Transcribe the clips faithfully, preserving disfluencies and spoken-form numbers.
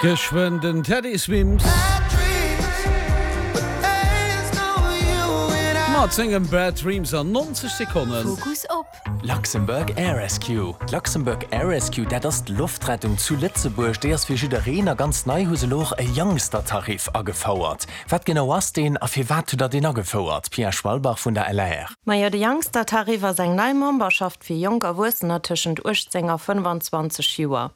Geschwënn den Teddy Swims mat sengem Bad Dreams an nonzeg Sekonnen. Fokus op. Luxembourg Air Rescue. D'Luxembourg Air Rescue, dat ass d'Loftrettung zu Lëtzebuerg. Déi ass fir jiddereen a ganz nei hu se elo och e Youngster-Tarif agefouert. Wat genau ass deen a firwat hutt der deen agefouert? Pia Schwalbach vun der L A R. Majo, de Youngster-Tarif ass eng nei Memberschaft fir jonk Erwuessener tëschent uechtzéng a fënnfanzwanzeg Joer.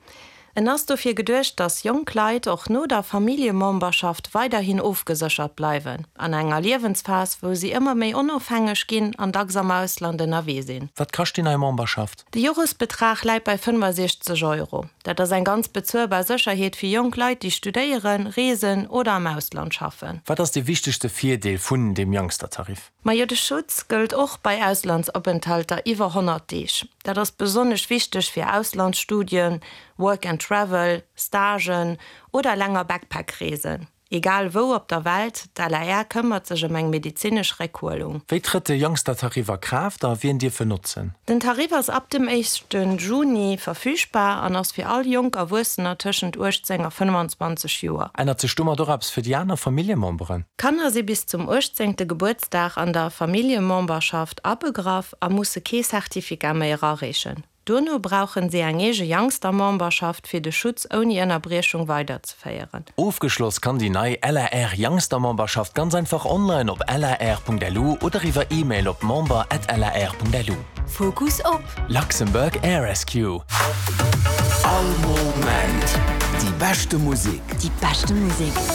En ass dofir geduecht, dass jonk Leit och no der Familljememberschaft weiderhin ofgeséchert bleiwen, an enger Liewensphas, wou si ëmmer méi onofhängeg ginn an dacks am Ausland ënnerwee sinn. Wat kascht déi nei Memberschaft? De Joresbetrag läit bei fënnfasiechzeg Euro. Dat ass eng ganz bezuelbar Sécherheet fir jonk Leit, déi studéieren, reesen oder am Ausland schaffen. Wat ass de wichtegste Virdeel vun deem Youngster-Tarif? Majo, de Schutz gëllt och bei Auslandsopenthälter iwwer honnert Deeg. Dat ass besonnesch wichteg fir Auslandsstudien, Work and Travel, Stagen oder länger Backpack-Reesen. Egal wou op der Welt, d'L A R këmmert sech ëm eng medezinesch Réckhuelung. Wéi trëtt de Youngster-Tarif a Kraaft a wien dierf en notzen? Den Tarif ass ab dem éischte Juni verfügbar an ass fir all jonk Erwuessener tëschent uechtzéng a fënnfanzwanzeg Joer. Ännert sech domat och eppes fir déi aner Familljememberen? Kanner si bis zum uechtzéngte Gebuertsdag an der Familljememberschaft abegraff a musse kee Certificat méi erareechen. Duerno brauchen si eng eege Youngster-Memberschaft, fir de Schutz ouni Ënnerbriechung weiderzeféieren. Ofgeschloss kann déi nei L A R Youngster-Memberschaft ganz einfach online op lar Punkt L U oder iwwer E-Mail op member at lar Punkt L U. Fokus op. Luxembourg Air Rescue. All Moment. Déi beschte Musek. Déi beschte Musek.